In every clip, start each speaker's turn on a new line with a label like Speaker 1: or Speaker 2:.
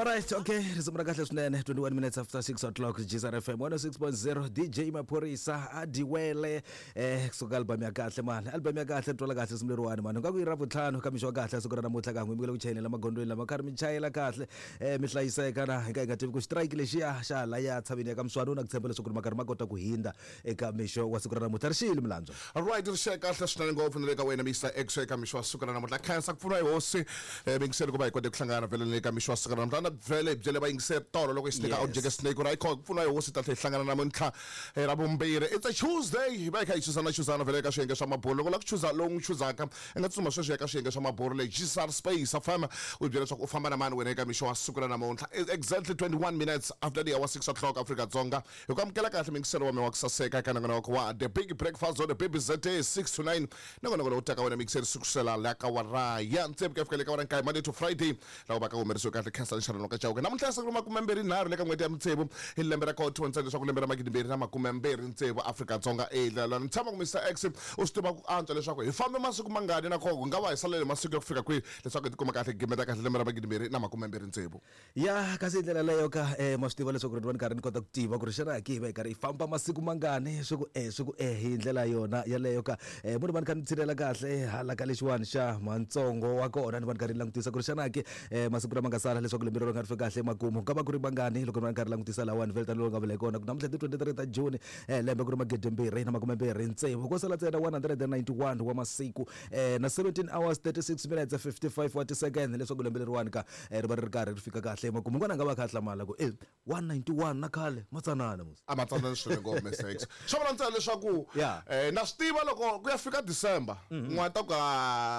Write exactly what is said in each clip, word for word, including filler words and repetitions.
Speaker 1: Alright, okay, risimu ra kahle swinene twenty-one minutes after six o'clock G S R F M one oh six point zero D J Maphorisa a diwele eh kusuka album ya kahle mani album ya kahle twala kahle risimu leriwani mani nga ku yi ra vutlhanu ka mixo wa kahle siku ra namuntlha ka n'wi mi ku chayela magondweni lama karhi mi chayela kahle eh mi hlayiseka na hi ka hi nga tivi ku strike lexiya xa la ya tshaveni ya ka Mswani na ku tshemba leswaku ri makarhi ma kota ku hindza eka mixo wa siku ra namuntlha ri xile milandzo.
Speaker 2: Alright, ri xile kahle swinene ngopfu ni le ka wena Mister X eka mixo wa siku ra namuntlha khensa ku pfuna hi hosi eh mingiselo ku va hi kote ku hlangana vele le ka mixo wa siku ra namuntlha na vele byele va yingiseri tolo loko hi snake out jeke snake right ku pfuna hi hosi ta tlhe hlangana namuntlha ra vumbirhi. It's a Tuesday hi va hi kha hi chuzana chuzana vele ka swiyenge swa mabolo loko la ku chuza lowu n'wi chuzaka i nga tsutsuma sweswi ya ka swiyenge swa mabolo le G S R Space F M u byela leswaku u famba na mani wena eka mixo wa siku ra namuntlha exactly twenty-one minutes after the hour six o'clock Afrika Dzonga hi ku amukela kahle mingiselo wa me wa ku saseka eka nongonoko wa The Big Breakfast on the B B Z six to nine nongonoko lowu taka wena mingiselo sukusela la ka wara ya tsevu ku ya fika le ka wara nkaye Monday to Friday laha va ka humerisiwe kahle khensa nxarano ka Chauke namuntlha siku ra makume mbirhi nharhu le ka n'hweti ya mutsevu hi lembe ra kotho ntsena leswaku lembe ra magidi mbirhi na makume mbirhi ntsevu Afrika Dzonga e la ni tshama ku Mister X u swi tiva ku antswa leswaku hi fambe masiku mangani na koko nga va hi salele masiku ya ku fika kwihi leswaku hi tikuma kahle gimeta kahle lembe ra magidi mbirhi na makume mbirhi ntsevu
Speaker 1: ya kasi hi ndlela leyo ka eh ma swi tiva leswaku ri ni karhi ni kota ku tiva ku ri xana ki hi va hi karhi hi famba masiku mangani swi ku eh swi ku eh hi ndlela yona yaleyo ka eh munhu va ni kha ni tshinela kahle hala ka lexiwani xa mantsongo wa kona ni va ni karhi ni langutisa ku ri xana ki eh masiku lama nga sala leswaku lembe rero nga ri fika kahle makumu ka va ku ri mangani loko ni va ni karhi langutisa lawani vele tani lowu nga vula hi kona ku namuntlha ti twenty-three ta June eh lembe ku ri magidi mbirhi na makume mbirhi ntsevu ko sala ntsena one hundred ninety-one wa masiku eh na seventeen hours thirty-six minutes fifty-five wa ti-second leswaku lembe leriwani ka ri va ri karhi ri fika kahle makumu n'wana nga va kha hlamala ku eh one ninety-one na khale matsanana musi
Speaker 2: a matsanana swinene ngopfu Mister X swo vula ntsena leswaku eh na swi tiva loko ku ya fika December n'wana ta ku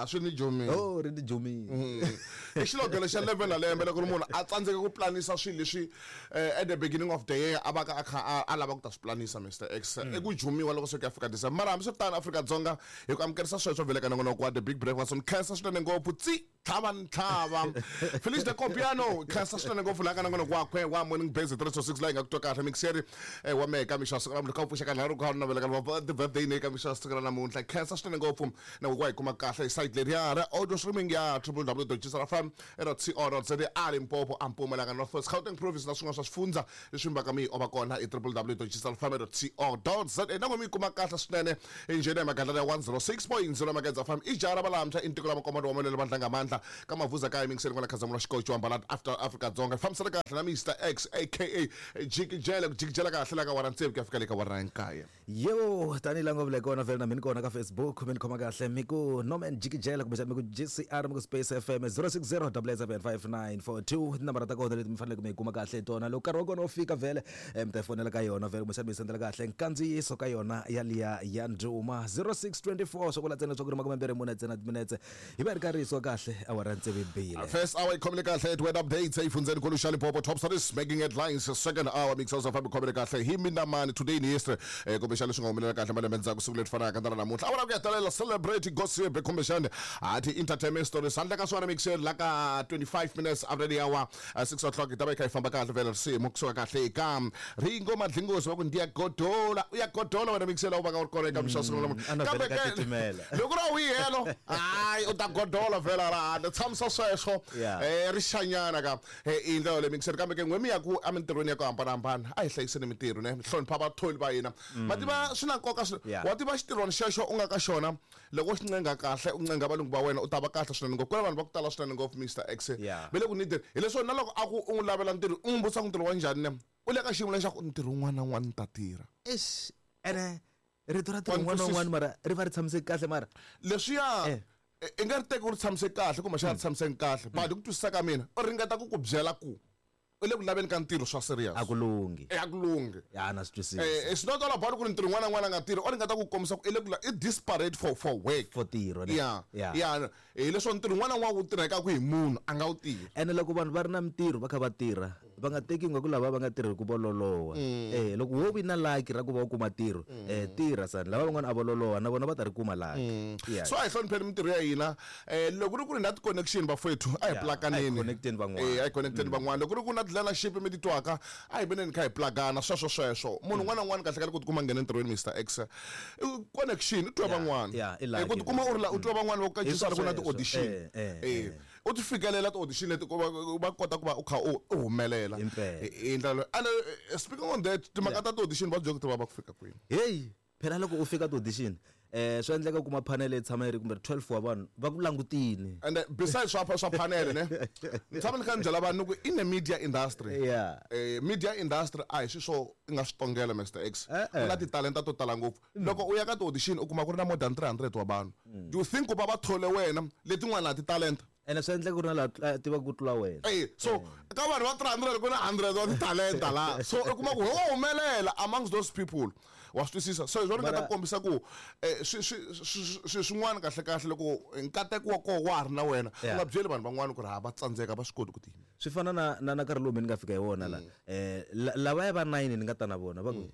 Speaker 2: swi ni jomile
Speaker 1: oh ri ni jomile
Speaker 2: i xilogelo xa lembe na lembe loko munhu a tsandzeka ku planisa swilo leswi at the beginning of the year a va ka a kha a lava ku ta swi planisa Mister X i ku jumiwa loko se ku ya fika December mara hambi swi tano Afrika Dzonga hi ku amukerisa sweswo vele ka nongonoko wa The Big Breakfast ni khensa swinene ngopfu tsi tlhava ntlhava Felice de Copiano khensa swinene ngopfu laha ka nongonoko wakwe wa Morning Base three to six laha hi nga ku twa kahle mixeri wa mehe ka mixo wa siku ra namuntlha ka u pfuxa ka nharhu ka navela ka birthday ne ka mixo wa siku ra namuntlha khensa swinene ngopfu na ku hi kuma kahle hi site leriya ra audio streaming ya w w w dot g s r f m dot co dot z a Limpopo a Mpumalanga North West Gauteng Province na swin'wana swa swifundza leswi mbaka mi ova kona i w w w dot g s r f m dot co dot z na n'we mi kuma kahle swinene enjeni ya magandlana ya one oh six point zero Magedza F M i jara valantshwa i ntiko la makomando wa malwele vandla nga mandla ka mavuza kaya mingiseni kwala Khazamula xikocho wa Mbalati after Afrika Dzonga fambisana kahle na Mister X aka jikijela ku jikijela kahle la ka wara ntsevu ku ya fika le ka wara nkaye
Speaker 1: yebo tanihi la ngo vula kona vele na mina kona ka Facebook mi ni khoma kahle mi ku Norman Jikijela kumbe mi ku G C R mi ku Space F M zero six zero double seven five nine four two tinambara ta kona leti mi faneleke mi yi kuma kahle hi tona loko nkarhi wa kona wu fika vele mi ta yi fonela ka yona vele kumbe mi sendela kahle nkandziyiso ka yona yaliya ya nduma zero six twenty-four swo vula ntsena leswaku ri makume mbirhi mune ntsena timinetse hi va ri karhi yisiwa kahle awara tsevu bile.
Speaker 2: First hour ikhomile kahle at weather updates eyifundzeni nkulu xa Limpopo top stories making headlines second hour mixers of ikhomile kahle hi mina mani today in history eh kumbexana leswi nga humelela kahle malembe ndzhaku siku leri fanaka na namuntlha awara ku ya talela celebrate gossip kumbexana ati entertainment stories handle ka swona mixer la ka twenty-five minutes after the hour six o'clock hi ta va hi kha hi famba kahle vele risimu kusuka kahle eka Ringo Madlingozi va ku ndiya godola u ya godola wena mixer u va ka u ri kona eka mixo siku namuntlha kambe loko ra wihelo hayi u ta godola vela ra handle tshamisa sweswo eh rixanyana ka i ndlela le mixer kambe ke n'we mi ya ku emintirhweni ya ku hambanahambana a hi hlayiseni mintirho ne hlonipha vatholi va hina ma tiva swi na nkoka wa tiva xitirhwani xexo u nga ka xona loko xi ncenga kahle u ncenga valungu va wena u ta va kahle swinene ngopfu ku na vanhu va ku tala swinene ngopfu Mister X ve le ku nideni hileswo na loko a ku u n'wi lavela ntirho u n'wi vutisa ku ntirho wa njhani ne u le ka xiyimo lexaku ntirho wun'wana na wun'wana ni ta tirha
Speaker 1: eish ene rito ra ntirho wun'wana na wun'wana mara ri va ri tshamiseke kahle mara
Speaker 2: leswiya i nga ri teki u ri tshamiseke kahle kumbe xa ri tshamiseki kahle but hi ku twisisa ka mina u ringeta ku ku byela ku u le ku laveni ka ntirho swa serious
Speaker 1: a ku lunghi
Speaker 2: a ku lunghi
Speaker 1: ya na swi twisisa
Speaker 2: eh it's not all about ku ri ntirho n'wana n'wana nga tirhi u ringeta ku kombisa ku i le ku i desperate for for work
Speaker 1: for ntirho
Speaker 2: ya ya hi leswo ntirho n'wana n'wana wu tirhekaka hi munhu a nga wu tirhi
Speaker 1: ene loko vanhu va ri na mintirho va kha va tirha va nga teki nga ku lava va nga tirhi ku va loloha eh loko wo vi na lucky ra ku va u kuma ntirho eh tirha sani lava van'wana a va loloha na vona va ta ri kuma lucky
Speaker 2: so a hi hlonipheni mintirho ya hina eh loko ri ku ri na ti-connection bafowethu a hi plakaneni
Speaker 1: connecteni van'wana
Speaker 2: eh a hi connecteni van'wana loko ri ku na leadership mi titwaka a hi veneni kha hi plagana sweswo sweswo munhu un'wana na un'wana kahle kahle ku tikuma nghena entirhweni Mister X connection u twa van'wana ku tikuma u ri la u twa van'wana va ku kacisa ri ku na ti-audition eh U ti fikelela ti-audition leti ku va va kota ku va u kha u u humelela
Speaker 1: Impela.
Speaker 2: hi hi ndlela leyo. And eh, speaking on that, timhaka ta ti-audition va byela ku ti vava ku fika kwini?
Speaker 1: Heyi, phela loko u fika ti-audition, eh swi endleka u kuma panel yi tshama yi ri kumbe twelve wa vanhu va ku langutini.
Speaker 2: And uh, besides swa swa panel, ne, ni tshama ni kha ni byela vanhu ni ku in the media industry,
Speaker 1: Yeah.
Speaker 2: eh, media industry a hi swi swo i nga swi tongela, Mister X.
Speaker 1: Eh,
Speaker 2: Ku na titalenta to tala ngopfu. Loko u ya ka ti-audition u kuma ku ri na more than three hundred wa vanhu. Do you think ku va va thole wena letin'wana a titalenta?
Speaker 1: Ene swi endleka ku ri na laha tivaka ku tlula wena.
Speaker 2: Eh, so ka vanhu va three hundred ku na one hundred wa titalenta laha, so u kuma ku ho humelela amongst those people, wa swi twisisa? So hi swona ni nga ta kombisa ku eh, swi swi- swi- swi swin'wana kahle kahle loko nkateko wa koho wa ha ri na wena, u
Speaker 1: Yeah.
Speaker 2: nga byeli vanhu van'wana ku ri ha va tsandzeka, va swi koti ku tiyimela.
Speaker 1: Swi fana na na na nkarhi lowu mi ni nga fika hi wona la, eh la- lavaya va nine ni nga ta na vona va ku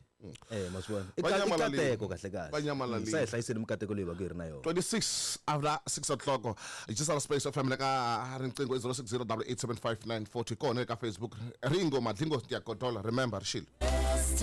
Speaker 1: eh ma swi vona, i
Speaker 2: Va
Speaker 1: ka- i
Speaker 2: nyamalalile.
Speaker 1: kateko kahle kahle.
Speaker 2: Va nyamalalile.
Speaker 1: Sa hi hlayiseni mikateko leyi va ku hi ri na yona.
Speaker 2: twenty-six after six o'clock, Jisala Space F M. Le ka riqingho i zero six zero eight seven five nine four two, kona eka Facebook Ringo Madlingo Tiyakotola. Remember, rixile.